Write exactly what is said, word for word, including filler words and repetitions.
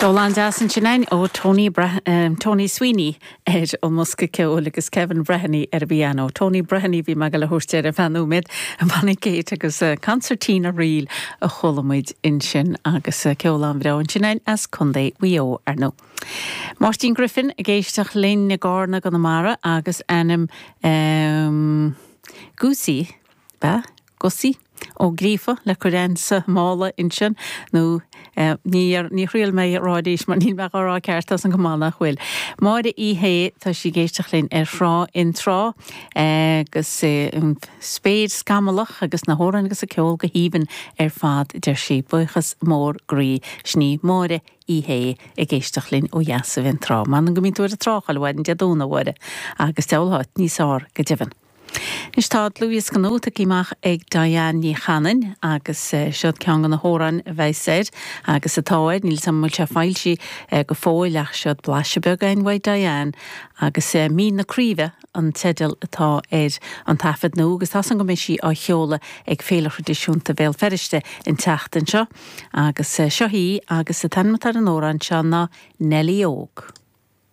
Ceol an-deas ansin againn ó Tony, um, Tony Sweeney ar an mbosca ceoil agus Kevin Breheny ar an bpianó. Tony Breheny bhí me le thuirte ar fanúid an Bonnie Kate agus uh, concertina reel a chuala muid ansin agus uh, ceol an-bhreá ansin as Contae Mhaigh Eo ar ndóigh. Máirtín Griffin ag éisteacht linn i gCarna i gConamara agus ainm um, Gúsaí be Gusí ó Gríofa le chuir sa mála ansin nó eh, ní thriail mé ráidís mar níl me rá ceart an gomána chuil. Máire í hé tá sí ag éisteacht linn ar thrá in trá agus eh, spéir scamallach agus na hamhráin agus an ceol go haoibhinn ar fad deir sí buíochas mór groí sin í Máire í hé ag éisteacht linn ó dheas i trá, Man an go mín túir tráchail bhain de dúna bhhaide agus deháit níos ár go deimhin. Anois tá dlúthdhiosca nua tagtha amach ag Diane Ní Chanainn agus seo ceann de na hamhráin a bheidh air agus atá air níl sam sé foilsithe go fóill ach seo blaiseadh beag againn uaidh Diane agus Mín na Craoibhe an teideal atá ar an taifead nua agus tá an go mbeidh sí á sheoladh ag Féile Thraidisiúnta Bhéal Feirste an tseachtain seo agus seo í agus an t-ainm atá ar an amhrán seo ná Nellie Óg.